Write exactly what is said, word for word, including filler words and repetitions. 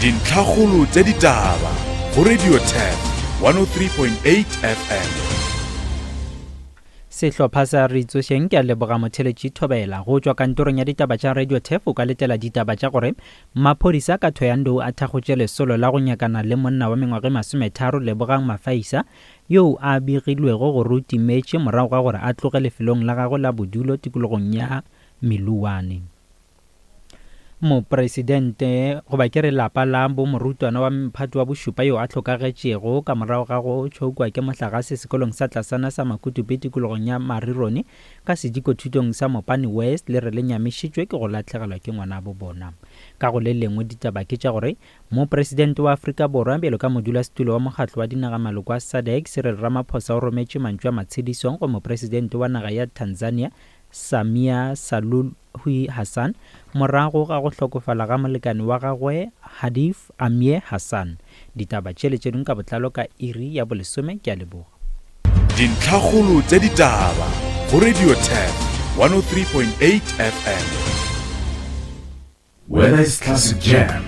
Dintlhakgolo tša ditaba go Radio Turf one oh three point eight F M. Sehlopha sa Re Tsošeng ke a leboga motheletši Thobela. Go tšwa kantorong ya ditaba tša Radio Turf o ka letela ditaba tša gore maphodisa ka Thohoyandou a thakgotše lesolo la go nyakana le monna wa mengwaga e masometharo Lebogang Mafaisa yo a begilwego gore o timetše morago ga gore a tloge lefelong la gagwe la bodulo tikologong ya Meluwane. Mopresidente goba ke re lapa la bo morutwana wa mphato wa bošupa yo a hlokagetšego ka morago ga go tšhokwa ke mohlagase sekolong sa tlasana sa Makutupe tikologong ya Marirone ka sedikothutong sa Mopani West le re le nyamišitšwe ke go lahlegelwa ke ngwana bo bona. Ka go le lengwe ditaba ke tša gore mopresidente wa Afrika Borwa bjalo ka modulasetulo wa mokgatlo wa dinaga maloko a SADC Cyril Ramaphosa o rometše mantšu a matshedisong go mopresidente wa naga ya Tanzania Samia Suluhu Hassan morago ga go hlokofala ga molekane wa gagwe Hadif Amir Hassan. Ditaba tšele tše dingwe ka botlalo ka iri ya bolesome. Ke a leboga. Dintlhakgolo tša ditaba go Radio Turf one oh three point eight F M. Whether it's classic jam,